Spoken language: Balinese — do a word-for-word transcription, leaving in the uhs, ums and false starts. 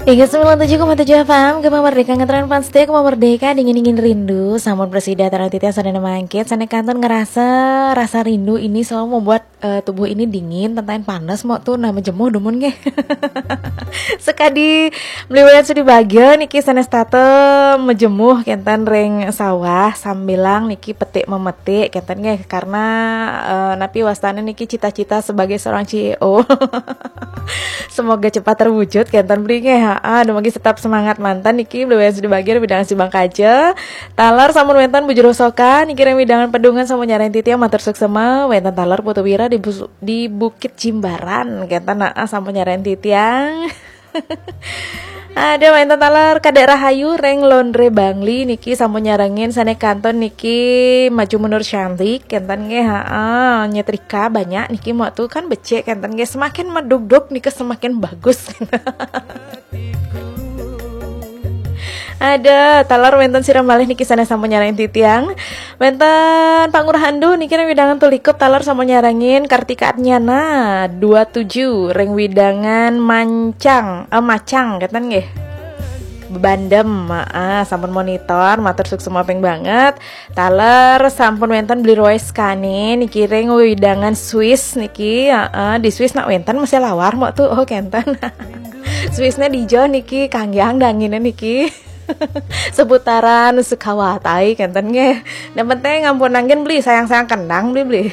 Tiga sembilan tujuh koma tujuh F M, Gema Merdeka, ngetren fans setia Gema Merdeka, dingin-dingin rindu. Sampun prasida taler titiang sadaya mangkin, sané kantun ngerasa rasa rindu ini selalu membuat eh, tubuh ini dingin, tentaen panas, mok tu nah majemuh dumun nggih. Sekadi mliwayat sudi bagia niki sanés tata majemuh kénten ring sawah sambilang niki petik memetik kénten nggih, karena eh, napi wastané niki cita-cita sebagai seorang C E O. Semoga cepat terwujud kénten beli nggih. Ha, dumugi tetap semangat manten niki, beli sudi bagia, bidang sibang kaja. Taler sampun wénten Bu Jero Soka niki ring wewidangan Pedungan sampun nyarengin titiang, matur suksma. Wénten taler Putu Wira di, Bus- di Bukit Jimbaran kénten, ha, sampun nyarengin titiang. Ada wénten taler Kadek Rahayu ring Londre Bangli niki sampun nyarengin, sané kantun niki maju mundur cantik kénten nggih, ha, nyetrika banyak niki, mok tu kan becik kénten nggih, semakin medugdug niki semakin bagus. Ada taler wénten sira malih niki sané sampun nyarengin titiang. Wénten Pak Ngurah Andu niki ring wewidangan Tulikup, taler sampun nyarengin. Kartika Adnyana dua tujuh ring wewidangan Mancang, eh, Macang kénten nggih. Bandem, ah, sampun monitor, matur suksma ping banget. Taler sampun wénten Bli Roy Skani niki ring wewidangan Swiss niki, heeh, di Swiss nak wénten masih lawar, mok tu, oh, kénten. Swissné dija niki, kanggiang danginé niki. Seputaran Sukawati kénten nggih. Yang penting ampun nangkin beli, sayang-sayang kendang beli beli.